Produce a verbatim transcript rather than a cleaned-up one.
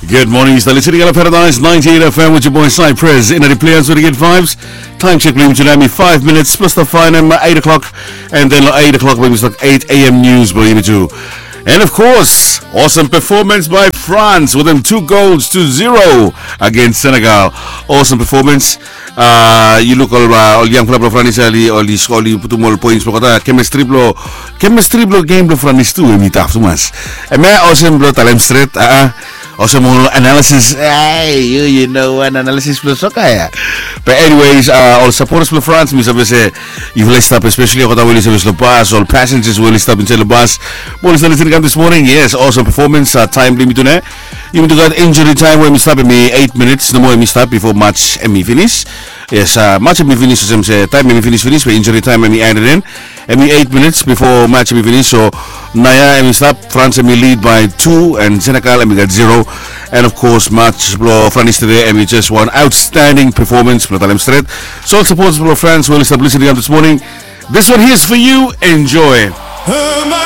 Good morning, yu stap listening to Paradise ninety-eight F M with your boy Cypress. In the players with the good vibes. Time check blong yumi tu nao hemi five minutes plus the fine and eight o'clock. And then eight o'clock blong yumi stap eight A M news blong yumi tu. And of course, awesome performance by France with them two goals to zero against Senegal. Awesome performance. Uh, yu luk ol uh, ol yangfala blong Franis ia oli oli putum ol points blong olgeta. Chemistry blong chemistry blong game blong Franis tu hemi taf tumas. Hemia olsem blong talem stret. Uh, olsem ol analysis. Hey, you, you know an analysis blong soka ia. But anyways, uh, ol supporters blong France mi save se yufala i stap, especially olgeta we oli save long bas, ol passengers we oli stap insaed long bas, we oli stap listening kam this morning. Yes, awesome performance. Uh, time blong yumi tu nao. Yumi tu gat injury time we hemi stap hemi eight minutes nomo hemi stap before match hemi finish. Yes, uh, match hemi finish olsem se time hemi finish finish be injury time hemi added in. Hemi eight minutes before match hemi finish. So naoia hemi stap, France hemi lead by two and Senegal hemi gat zero. And of course match blong France today hemi just one outstanding performance blong talem stret. So ol supporters blong France we oli stap listening kam this morning, this one here is for you. Enjoy.